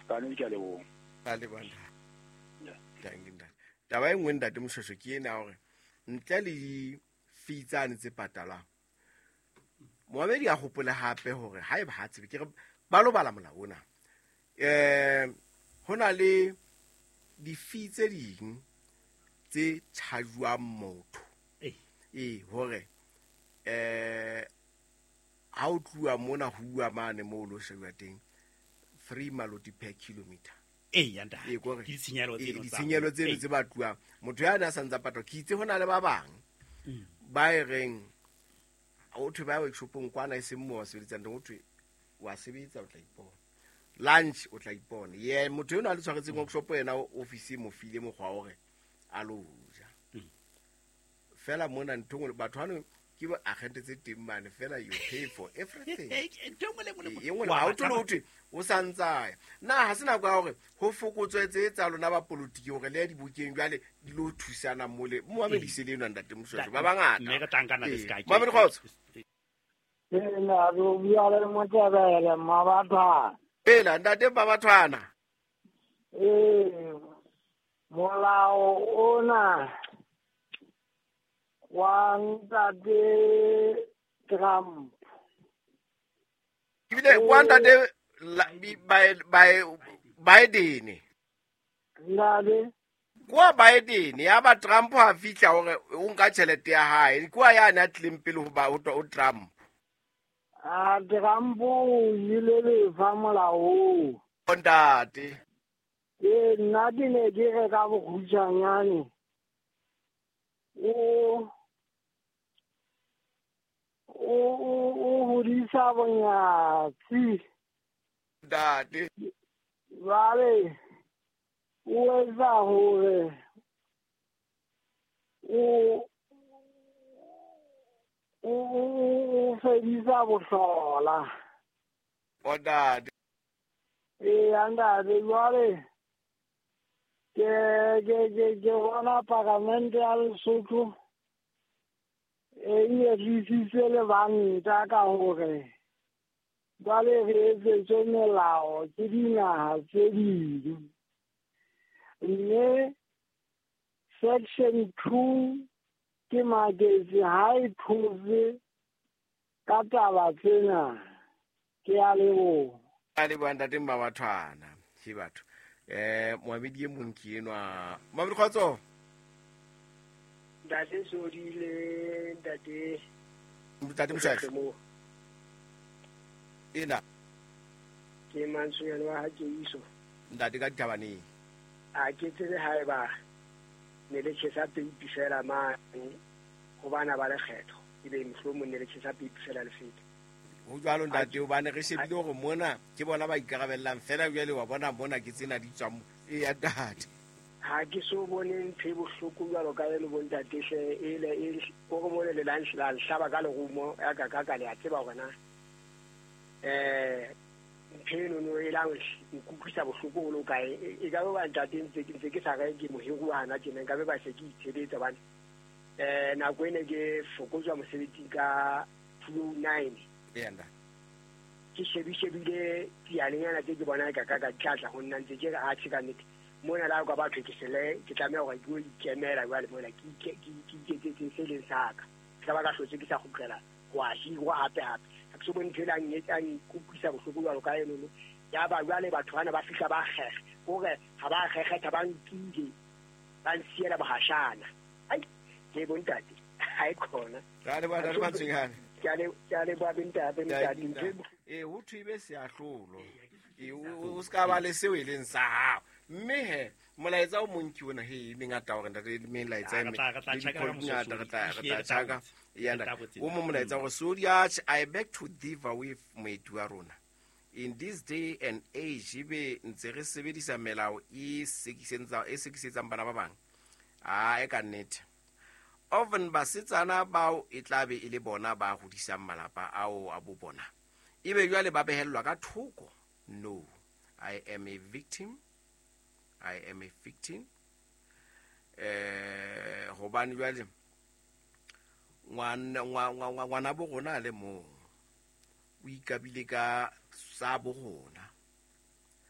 Ka nnete ke a leboha. A leboha ntate. Thank you ntate. Taba e nngwe ntate Moshweshwe ke ena ya hore ntle le di-fee tsane tse patalwang, moamedi a hopole hape hore haeba ha tsebe ke re ba lo bala molao ona. Ho na le di-fee tse ding tse charge-wang motho. Hore ha o tluwa mona ho uwa mane moo o lo shebuwa teng 3 maloti per kilometer. Ee, ya ntate. Ee, kore Ke ditshenyehelo tseno tsa ditshenyehelo tseno Ee. tse batluwang. Motho ya ne a sa ntsa patwa, ke itse ho na le ba bang ba e reng ho thwe ba workshopong kwana e seng moo ba sebetsang teng, ho thwe wa sebetsa o tla ipona, lunch o tla ipona. Ye motho enwa a le tshwaretseng workshop yena office e mo file mokgwa wa hore a lo ja. Fela mona ntho e nngwe, batho hano ke ba agente tse teng mane, fela you pay for everything. Ntho e nngwe le e nngwe le E nngwe le Wa ha o batla thole ho thwe o sa ntsaya. Na ha se nako ya hore ho fokotswe tse tsa lona ba politiki hore le ya dibokeng jwale di lo thusana mole. Moamedi se le enwa ntate Moshweshwe, ba bangata. Mme re tla nkana le ska ke. Moamedi kgotso. Ee, na re o bua le Motebele, Mmabathwana. Pela ntate Mmabathwana. Ee, molao ona wa ntate Trump. Ebile wa ntate Biden. Ntate. Kwa Biden ya ba Trump ha fihla hore o nka tjhelete ya hae. Kwa ya na tlileng pele ho ba ho Trump. A Trump o ile lefa molao. Ntate. Ee, nna ke ne ke re ka bokgutshwanyane. O hodisa bonyatsi. Ntate. Jwale o etsa hore o fedisa bohlola. Ntate. Ee, ntate, jwale ke bona paramente ya Lesotho e nyedisitse lebanta ka hore jwale re etsetswe melao ke dinaha tse ding. Mme section 2 ke maketse ha e thotse ka taba tsena. Ke a leboha. A leboha ntate Mmabathwana. Ke batho. Moamedi e mong ke enwa. Moamedi kgotso. Ntate Sodile, ntate. Ntate Moshweshwe. Ena. Ke Mantsonyane wa ha Keiso. Ntate ka dithabaneng. A ke tsebe haeba ne le tjhesa peipi fela mane ho bana ba lekgetho, ebe mohlomong ne le tjhesa peipi fela le feta. Ho jwalo ntate, hobane re shebile hore mona ke bona ba ikarabellang fela jwale wa bona mona ke tsena di tswang e ya ntate. Ha ke so bone ntho e bohloko jwalo ka eno bo ntate hle, e le, e, o re mole le la la nhlaba ka lerumo, ya ka, ka, ka le a tseba hore na, ntho eno no e la nkutlwisa bohloko ho le kae. E ka ba ntate ntse ke sa re ke mohiruwa hana tjena, nka be ba se ke itshebetsa hobane, nako ene ke fokotswa mosebetsing ka 209. Eya, ntate. Ke shebile dialenyana tse ke bona ka, ka, ka tlatla ho nna ntse ke re, atjhe ka nnete. Mona la ka batho ke sele, ke tlameha hore ke yo ikemela jwale mona, ke ike, ke, ke iketsetse se leng sa ka. Ke tla ba ka hlotse ke sa kgutlela ho a hirwa hape hape. Ha ke so bone ntho e la a nkutlwisa bohloko jwalo ka eno no. Ya ba jwale batho bana ba fihla ba kgekge, hore ha ba kgekgetha ba nkile, ba nsiela bohashana. Ai, ke bo ntate, ha e khona. Ra le bona, re Mantsonyane. Ke a le, ke a leboha bo ntate, Ke a ntate, ntho e ntate. Ee, ho thwe ebe seahlolo. Ee, o se ka ba le seo e leng sa hao. Mme he, molaetsa o mong ke ona, he, e mengata hore ntate, le melaetsa e Re tla, re tla le tjhaka ka dikgolo di ngata, mososo, re tla, re ehlile tla re tla tjhaka. botsa. Eya, Re tla ntate. botsa. O mong molaetsa hore, Sodiach, I beg to differ with moeti wa rona. In this day and age, ebe ntse re sebedisa melao e e sekisetsang bana ba bang. Ah, e ka nnete. Often basetsana bao e tla be e le bona ba hodisang malapa ao a bo bona. Ebe jwale ba behellwa ka thoko. No, I am a victim. I am a victim. Hobane jwale ngwana bo rona a le mong o ikabile ka sa bo rona.